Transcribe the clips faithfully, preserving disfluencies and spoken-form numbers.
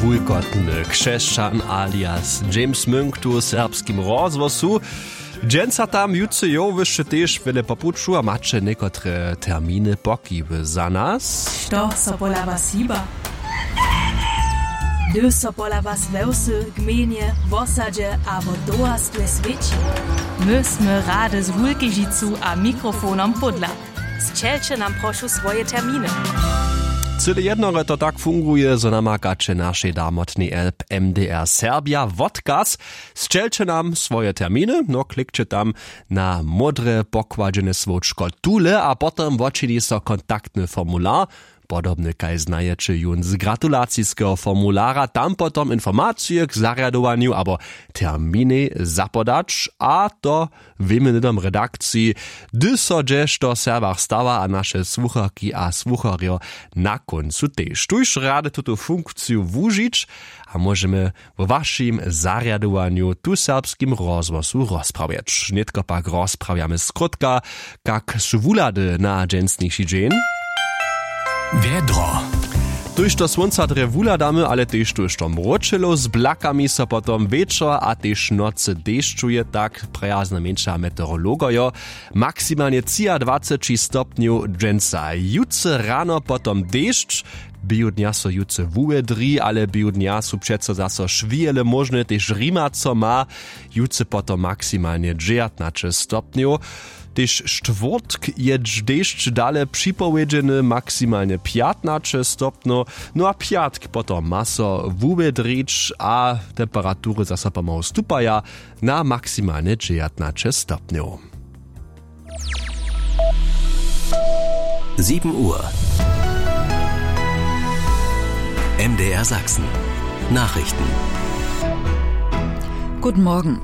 Wulkotny křesćan alias James Munk tu w serbskim rozhłosu. Dźensa tam jutře jow wyšće tež wjele po puću a maće někotre terminy pokiwy za nas. Što so pola was hiba? Hdyž so pola was we wsy, gmejnje, wosadźe abo towarstwje swěći, my smy rady z wulkežicu a mikrofonom pódla. Sćelće nam prošu swoje terminy. Cyle jednore to tak funguje, zo namakaće našej damotnej app M D R Serbia wodkaz. Sćelće nam swoje terminy, no klikće tam na módre pokładźene słowčko tule a potom wočini so kontaktny formular, podobny kaž znajeće jón z gratulaciskeho formulara, tam potom informacije k zarjadowanju abo terminej zapodać, a to wěmy hnydom redakciji, hdy so hdźešto w Serbach stawa a naše słucharki a słucharjo na kóncu tež. Tuž rady tutu funkciju wužić a móžemy wo wašim zarjadowanju tu w serbskim rozhłosu rozprawjeć. Nětko pak rozprawjamy skrótka, kak su wuhlady na dźensniši dźeń. Wjedro. Tuž to słónca drje wuhladamy, ale tež tuž to mróčelo z blakami so potom wječor a tež nocy dešćuje, tak prjazno měnša meteorologojo. Maksimalnje třiadwaceći stopnjow dźensa. Jutře rano potom dešć. Běhu dnja so jutře wuwjedri, ale běhu dnja su přeco zaso šwěle móžne, tež rimaco ma. Jutře potom maksimalnje dźewjatnaće stopnjow. Tež štwórtk je dž-, dešć dale připowědźeny, maksimalnje pjatnaće stopnjow. No a pjatk potom ma so wuwjedrić a temperatury zaso pomału stupaja na maksimalnje dźewjatnaće stopnjow. Sieben Uhr. M D R Sachsen. Nachrichten. Guten Morgen.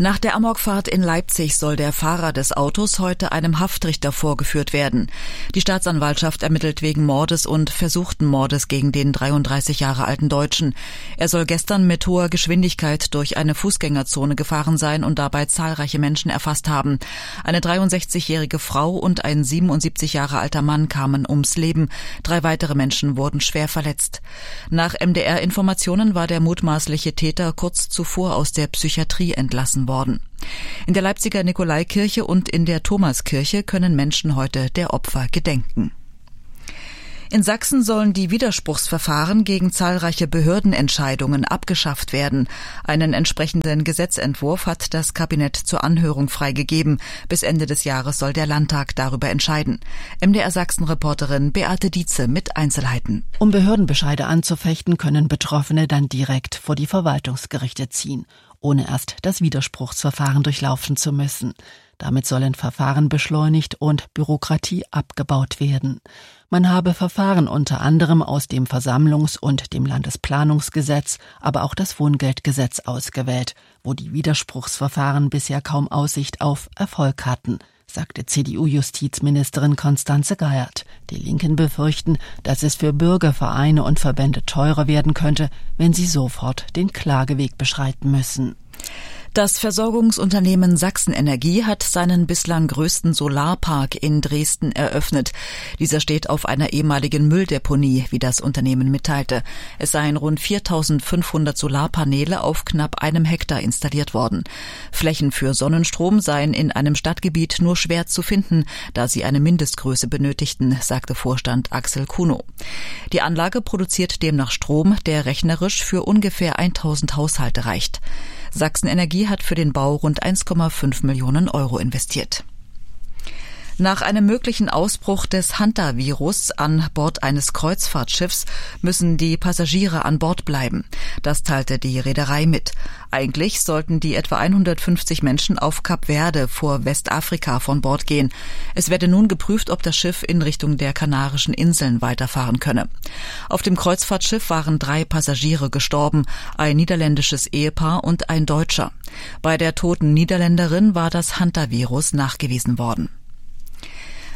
Nach der Amokfahrt in Leipzig soll der Fahrer des Autos heute einem Haftrichter vorgeführt werden. Die Staatsanwaltschaft ermittelt wegen Mordes und versuchten Mordes gegen den dreiunddreißig Jahre alten Deutschen. Er soll gestern mit hoher Geschwindigkeit durch eine Fußgängerzone gefahren sein und dabei zahlreiche Menschen erfasst haben. Eine dreiundsechzigjährige Frau und ein siebenundsiebzig Jahre alter Mann kamen ums Leben. Drei weitere Menschen wurden schwer verletzt. Nach M D R-Informationen war der mutmaßliche Täter kurz zuvor aus der Psychiatrie entlassen worden. In der Leipziger Nikolaikirche und in der Thomaskirche können Menschen heute der Opfer gedenken. In Sachsen sollen die Widerspruchsverfahren gegen zahlreiche Behördenentscheidungen abgeschafft werden. Einen entsprechenden Gesetzentwurf hat das Kabinett zur Anhörung freigegeben. Bis Ende des Jahres soll der Landtag darüber entscheiden. M D R Sachsen-Reporterin Beate Dietze mit Einzelheiten. Um Behördenbescheide anzufechten, können Betroffene dann direkt vor die Verwaltungsgerichte ziehen, ohne erst das Widerspruchsverfahren durchlaufen zu müssen. Damit sollen Verfahren beschleunigt und Bürokratie abgebaut werden. Man habe Verfahren unter anderem aus dem Versammlungs- und dem Landesplanungsgesetz, aber auch das Wohngeldgesetz ausgewählt, wo die Widerspruchsverfahren bisher kaum Aussicht auf Erfolg hatten, sagte C D U-Justizministerin Constanze Geiert. Die Linken befürchten, dass es für Bürger, Vereine und Verbände teurer werden könnte, wenn sie sofort den Klageweg beschreiten müssen. Das Versorgungsunternehmen Sachsenenergie hat seinen bislang größten Solarpark in Dresden eröffnet. Dieser steht auf einer ehemaligen Mülldeponie, wie das Unternehmen mitteilte. Es seien rund viertausendfünfhundert Solarpaneele auf knapp einem Hektar installiert worden. Flächen für Sonnenstrom seien in einem Stadtgebiet nur schwer zu finden, da sie eine Mindestgröße benötigten, sagte Vorstand Axel Kuno. Die Anlage produziert demnach Strom, der rechnerisch für ungefähr eintausend Haushalte reicht. Sachsenenergie hat für den Bau rund eins Komma fünf Millionen Euro investiert. Nach einem möglichen Ausbruch des Hantavirus an Bord eines Kreuzfahrtschiffs müssen die Passagiere an Bord bleiben. Das teilte die Reederei mit. Eigentlich sollten die etwa einhundertfünfzig Menschen auf Kap Verde vor Westafrika von Bord gehen. Es werde nun geprüft, ob das Schiff in Richtung der Kanarischen Inseln weiterfahren könne. Auf dem Kreuzfahrtschiff waren drei Passagiere gestorben, ein niederländisches Ehepaar und ein Deutscher. Bei der toten Niederländerin war das Hantavirus nachgewiesen worden.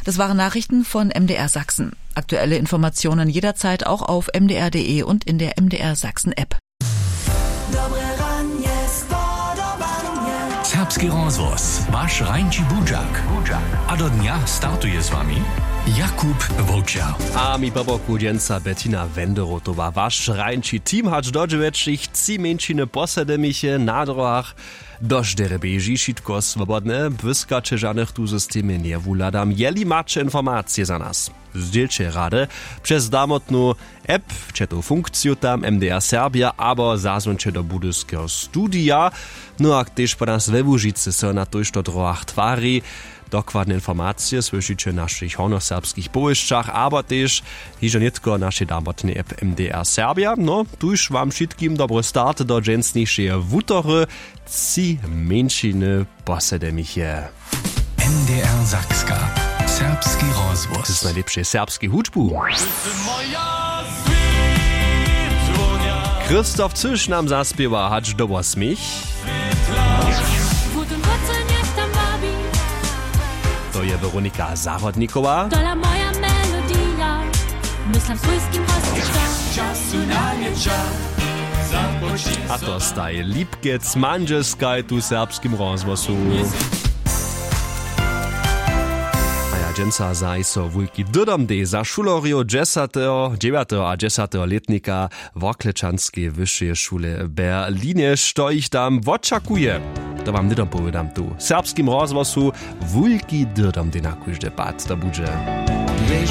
Das waren Nachrichten von M D R Sachsen. Aktuelle Informationen jederzeit auch auf M D R Punkt D E und in der M D R Sachsen App. Serbski rozhłos, waš rańči budźak. A do dnja startuje z wami Jakub Wowčer. A mi po boku dźensa Bettina Wenderotowa, waš rańči team hač do dźewjećich. Tři mjeńšiny posedemiche na dróhach. Dožderje běži wšitko swobodne, błyskaće žanych tu systemje njewuhladam. Jeli maće informacije za nas, zdźělće rady přez damotnu app, přetow funkciju tam M D R Serbia abo zazwonće do budyskeho studija. No a tež po nas we Łužicy so na tójšto dróhach twari. Dokładne informacije słyšiće w našich hornjoserbskich powěsćach abo tež hižo nětko w našej damotnej app M D R Serbia. No tuž wam wšitkim dobry start do dźensnišeje wutory. Tři mjeńšiny posedemiche. M D R Sakska, serbski rozhłos z najlěpšej serbskej hudźbu. Christoph Cyš nam zaspěwa hač do wosmich. To je Weronika Zahrodnikowa. Tola moja melodija. Myslam swójskim rozpočtom. Času na nječa. A to staj Lipkec Mandźelskaj tu w serbskim rozhłosu. A ja dźensa zajiso wulki dydom dej za šulerjow dźesateho dźewjateho a dźesateho lětnika Worklečanskeje wyšeje šule w Berlinje. Što jich tam wočakuje, to wam hnydom powědam tu w serbskim rozhłosu. Wulki dydom dej na kóždy pad to budźe.